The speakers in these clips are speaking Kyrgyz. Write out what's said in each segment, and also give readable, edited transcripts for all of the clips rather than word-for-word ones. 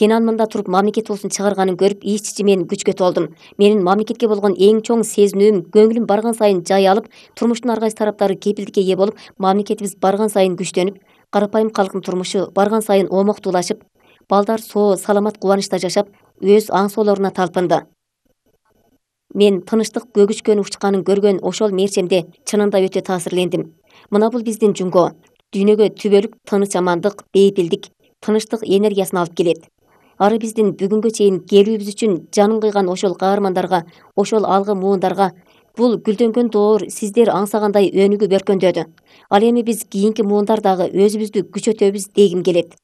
Тенанмында туруп мамлекет туусун чыгарганын көрүп ич-ичи мен күчкө толдум. Менин мамлекетке болгон эң чоң сезинүүм көңүлүм барган сайын жай алып, турмуштун ар кайсы тараптары кепилдикке ээ болуп, мамлекетибиз барган сайын күчтөнүп, карапайым калктын турмушу барган сайын омоктуулашып, балдар соо, саламат, кубанычта жашап, өз аң соолоруна талпынды. Мен тынычтык көгүчкөнү учканын көргөн ошол мерчемде чынында өтө таасирлендим. Мына бул биздин жумго. Дүйнөгө түбөлүк тыныч амандык, бейпилдик, тынычтык энергиясын алып келет. Ары биздин бүгүнгө чейин келүүбүз үчүн жанын кыйган ошол каармандарга, ошол алгы муундарга бул гүлдөнгөн доор сиздер аңсагандай өнүгүп өркөндөдү. Ал эми биз кийинки муундар дагы өзүбүздү күчөтөбүз дегим келет.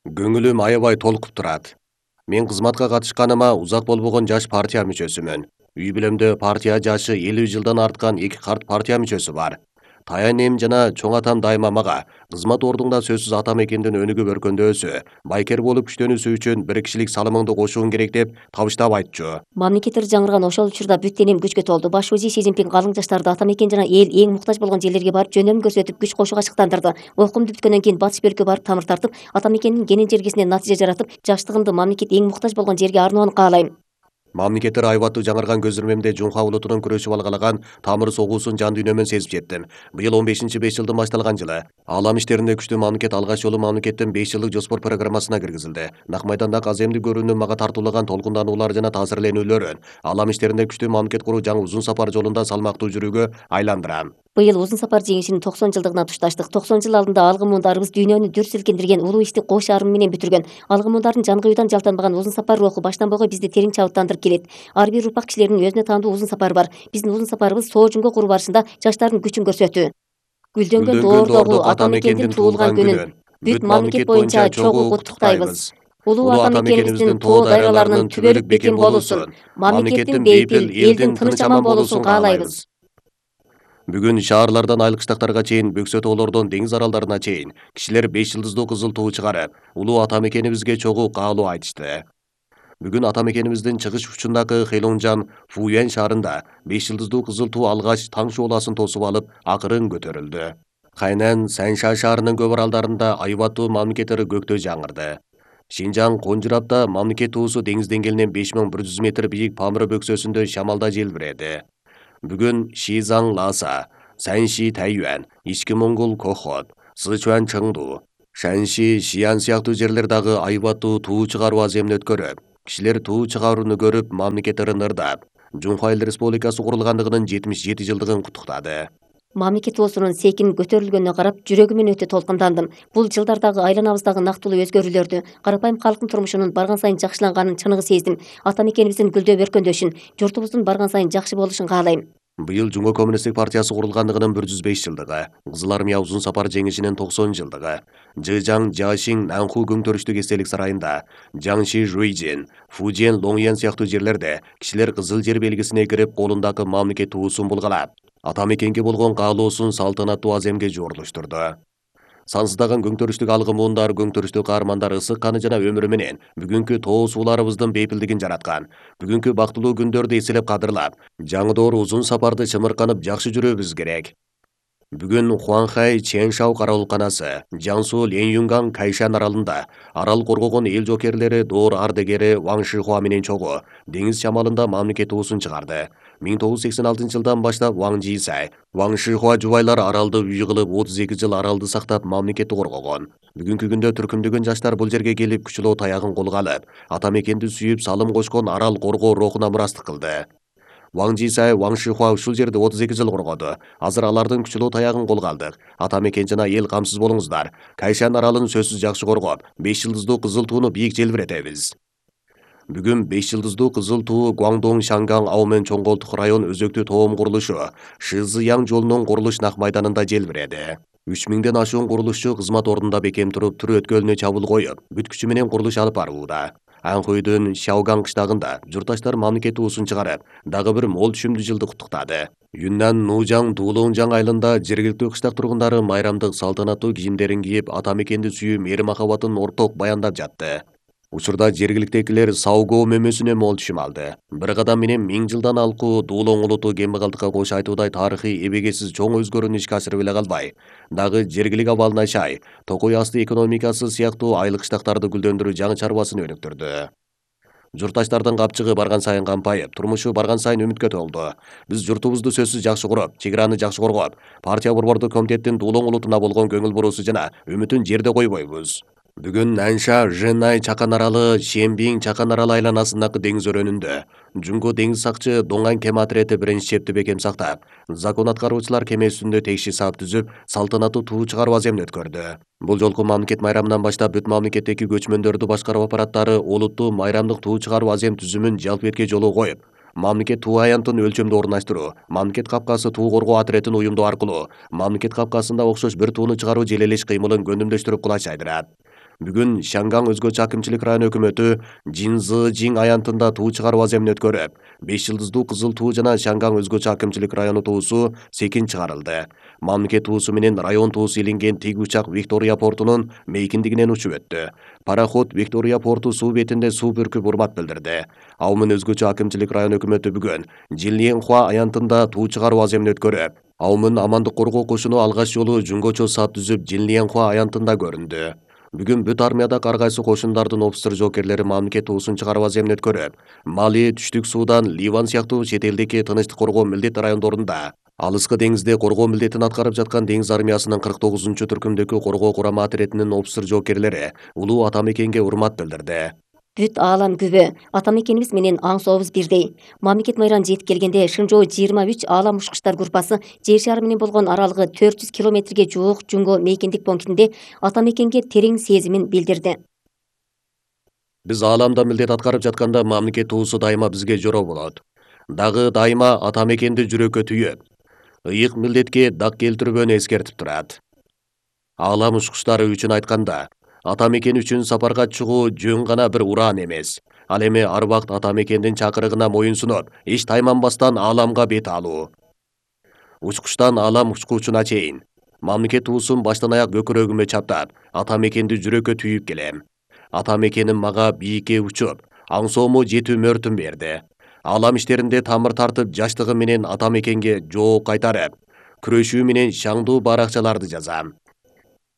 Көңүлүм аябай толкуп турат. Мен кызматка катышканыма узак болбогон жаш партия мүчөсүмүн. Үй бүлөмдө партия жашы 50 жылдан арткан 2 карт партия мүчөсү бар. Таянем жана чоң атам дайыма мага кызмат ордуңда сөзсүз ата мекендин өнүгүп өркөндөсү, байкер болуп күчтөнүүсү үчүн бир кишилик салымыңды кошуң керек деп табыштап айтчу. Мамлекеттер жаңырган ошол учурда бүт денем күчкө толду. Баш УЗИ Си Цзиньпин калың жаштарды ата мекен жана эл эң муктаж болгон жерлерге барып жөнөмүн көрсөтүп, күч кошууга шыктандырды. Окуумду бүткөндөн кийин батыш бөлүккө барып тамыр тартып, ата мекендин кенен жергесинен натыйжа жаратып, жаштыгымды мамлекет эң муктаж болгон жерге арноону каалайм. Мамлекеттер айбаттуу жаңырган көзүрмемде Жунха улутунун күрөшүп алгалаган тамыр согуусун жан дүйнөмөн сезип жеттим. Быйыл 15-5 жылдын башталган жылы. Алам иштеринде күчтүү мамлекет алгач жолу мамлекеттин 5 жылдык жоспор программасына киргизилди. Нак майданда аземдик көрүүнүн мага тартуулаган толкундануулар жана таасирленүүлөрүн алам иштеринде күчтүү мамлекет куруу жаңы узун сапар жолунда салмактуу жүрүүгө айландырам. Быйыл узун сапар жеңишинин 90 жылдыгына тушташтык. 90 жыл алдында алгы муундарыбыз дүйнөнү дүр силкиндирген улуу ишти кош шаарым менен бүтүргөн. Алгы муундардын жан кыюудан жалтанбаган узун сапар руху баштан бойго бизди терең чабыттандырып келет. Ар бир урпак кишилеринин өзүнө таандуу узун сапары бар. Биздин узун сапарыбыз соо жумго куруу барышында жаштардын күчүн көрсөтүү. Гүлдөнгөн доордогу ата мекендин туулган күнүн бүт мамлекет боюнча чогуу куттуктайбыз. Улуу ата мекенибиздин тоо дайраларынын түбөлүк бекем болуусун, мамлекеттин бейпил, элдин тыныч аман болуусун каалайбыз. Бүгүн шаарлардан айыл кыштактарга чейин, бөксө тоолордон деңиз аралдарына чейин кишилер 5 жылдыздуу кызыл туу чыгарып, улуу ата мекенибизге чогуу каалоо айтышты. Бүгүн ата мекенибиздин чыгыш учундагы Хэлонжан, Фуюань шаарында 5 жылдыздуу кызыл туу алгач таң шооласын тосуп алып, акырын көтөрүлдү. Хайнан, Санша шаарынын көп аралдарында айбаттуу мамлекеттери көктө жаңырды. Шинжаң, Конжурапта мамлекет туусу деңиз деңгээлинен 5100 метр бийик Памыр бөксөсүндө шамалда желбиреди. Бүгүн Шизаң Ласа, Санши Тайюань, Ички Моңгол Кохот, Сычуань Чыңду, Шанши Шиян сыяктуу жерлер дагы айбаттуу туу чыгаруу аземин өткөрүп, кишилер туу чыгарууну көрүп, мамлекеттери ырдап, Жунха Эл Республикасы курулгандыгынын 77 жылдыгын куттуктады. Мамлекет туусунун секин көтөрүлгөнүнө карап, жүрөгүмөн өтө толкундандым. Бул жылдардагы айланабыздагы нактылуу өзгөрүүлөрдү, карапайым калктын турмушунун барган сайын жакшыланганын чыныгы сездим. Ата мекенибиздин гүлдөп өркөндөшүн, журтубуздун барган сайын жакшы болушун каалайм. Быйыл Жумго коммунисттик партиясы курулгандыгынын 105 жылдыгы, Кызыл армия узун сапар жеңишинин 90 жылдыгы, Жыжаң, Жашиң, Нанху көңтөрүштүк эстелик сарайында, Жаңши, Жуйжин, Фужен, Лоңьян сыяктуу жерлерде кишилер кызыл жер белгисине кирип, колундагы мамлекет туусун булгалап, ата мекенге болгон каалоосун салтанаттуу аземге жоорлоштурду. Сансыздаган көңтөрүштүк алгы муундар, көңтөрүштүк каармандар ысык каны жана өмүрү менен бүгүнкү тоо сууларыбыздын бейпилдигин жараткан. Бүгүнкү бактылуу күндөрдү эселеп кадырлап, жаңы доор узун сапарды чымырканып жакшы жүрүүбүз керек. Бүгүн Хуанхай Чэншау караулканасы, Жансу Ленюнган Кайшан аралында арал коргогон эл жокерлери доор ардегери Ваң Шихуа менен чогуу деңиз шамалында мамлекет туусун чыгарды. 1986 жылдан баштап Ваң Жисай, Ваң Шихуа жубайлар аралды үй кылып 32 жыл аралды сактап мамлекетти коргогон. Бүгүнкү күндө түркүмдөгөн жаштар бул жерге келип күчөлөө таягын колго алып, ата мекенди сүйүп салым кошкон арал коргоо рухуна мурастык кылды. Ваң Жисай, Ваң Шихуа ушул жерде 32 жыл коргоду. Азыр алардын күчөлөө таягын колго алдык. Ата мекен жана эл камсыз болуңуздар. Кайшан аралын сөзсүз жакшы коргоп, 5 жылдыздуу кызыл тууну бийик желбиретебиз. Бүгүн 5 жылдыздуу кызыл туу Гуаңдоң Шанган Аумен чоңголтук район өзөктүү тоом курулушу Шызыяң жолунун курулуш нак майданында желбиреди. 3000ден ашуун курулушчу кызмат ордунда бекем туруп, түр өткөлүнө чабуул коюп, бүт күчү менен курулуш алып барууда. Анхуйдун Шаоган кыштагында журтташтар мамлекет туусун чыгарып, дагы бир мол түшүмдүү жылды куттуктады. Юннан Нужаң Дуулоңжаң айылында жергиликтүү кыштак тургундары майрамдык салтанаттуу кийимдерин кийип, ата мекенди сүйүү мээри махабатын орток баяндап жатты. Учурда жергиликтегилер Саугоо мөмөсүнө мол түшүм алды. Bir кадам менен 1000 жылдан алкуу Дуулоң улуту кембагалдыкка кош айтуудай тарыхый эбегесиз чоң өзгөрүүнү ишке ашырып эле калбай, дагы жергилик абалын ашай, токой асты экономикасы сыяктуу айлык штактарды гүлдөндүрүү жаңы чарбасын өнүктүрдү. Журтташтардын капчыгы барган сайын кампайып, турмушу барган сайын үмүткө толду. Биз журтубузду сөзсүз жакшы куруп, чек араны жакшы коргоп, партия борбордук комитеттин Дуулоң улутуна болгон көңүл буруусу жана үмүтүн жерде койбойбуз. Бүгүн Нанша Женай чакан аралы Шембиң чакан аралы айланасындагы деңиз өрөөнүндө жунго деңиз сакчы Доңан кеме отрети биринчи чепти бекем сактап, закон аткаруучулар кеме үстүндө тегиши саап түзүп, салтанаттуу туу чыгаруу аземин өткөрдү. Бул жолку мамлекет майрамынан баштап бүт мамлекеттеги көчмөндөрдү башкаруу аппараттары олуттуу майрамдык туу чыгаруу азем түзүмүн жалпыбетке жолоо коюп, мамлекет туу аянтын өлчөмдө орундаштыруу, мамлекет капкасы туу коргоо отрядын уюмдоо аркылуу мамлекет капкасында окшош бир тууну чыгаруу желелеш кыймылын көндүмдөштүрүп кулач жайдырат. Бүгүн Шанган өзгөчө акимчилик район өкмөтү Жинзыжиң аянтында туу чыгаруу аземин өткөрүп, 5 жылдыздуу кызыл туу жана Шанган өзгөчө акимчилик району туусу секин чыгарылды. Мамлекет туусу менен район туусу илинген тиг учак Виктория портунун мейкиндигинен учуп өттү. Пароход Виктория порту суу бетинде суу бүркүп урмат билдирди. Аумун өзгөчө акимчилик район өкмөтү бүгүн Жилиенхуа аянтында туу чыгаруу аземин өткөрүп, Аумун амандык коргоо кошуну алгач жолу жунгочо сап түзүп Жилиенхуа аянтында көрүндү. Бүгүн бүт армияда ар кайсы кошундардын офицер жоокерлери мамлекет туусун чыгаруу аземин өткөрүп, Мали, Түштүк Судан, Ливан сыяктуу чет элдеги тынычтык коргоо милдет райондорунда алыскы деңизде коргоо милдетин аткарып жаткан деңиз армиясынын 49-түркүмдөгү коргоо курама отрядынын офицер жоокерлери улуу атамекенге урмат билдирди. Бүт аалам күбө, атамекенибиз менен аң сообуз бирдей. Мамлекет майрам жетип келгенде Шыңжоо 23 аалам учкучтар группасы жер шары менен болгон аралыгы 400 километрге жуук жунго мейкиндик пунктинде атамекенге терең сезимин билдирди. Биз ааламда милдет аткарып жатканда мамлекет туусу дайыма бизге жороо болот. Дагы дайыма атамекенди жүрөккө түйүп, ыйык милдетке дак келтирбөөнү эскертип турат. Аалам учкучтары үчүн айтканда, атамекен үчүн сапарга чыгуу жөн гана бир ураан эмес. Ал эми ар убакыт атамекендин чакырыгына моюн сунуп, эч тайманбастан ааламга бет алуу. Учкучтан аалам учкуучуна чейин мамлекет туусун баштан аяк көкүрөгүмө чаптап, атамекенди жүрөккө түйүп келем. Атамекеним мага бийикке учуп, аң соому жетүү мөөртүн берди. Аалам иштеринде тамыр тартып, жаштыгым менен атамекенге жооп кайтарып, күрөшүү менен шаңдуу баракчаларды жазам.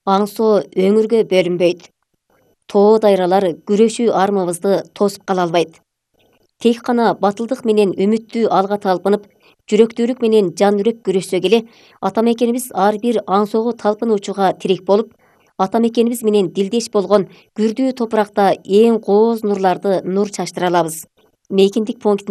Аңсоо өңүргө бөлүнбөйт. Тоо дайралар күрөшүү армыбызды тосуп кала албайт. Тек гана батылдык менен үмүттүү алга талпынып, жүрөктүүлүк менен жан үрөп күрөшсө келе, атамекенибиз ар бир аңсоого талпынуучуга тирек болуп, атамекенибиз менен дилдеш болгон күрдүү топуракта эң кооз нурларды нур чачтыра алабыз. Мейкиндик пунктин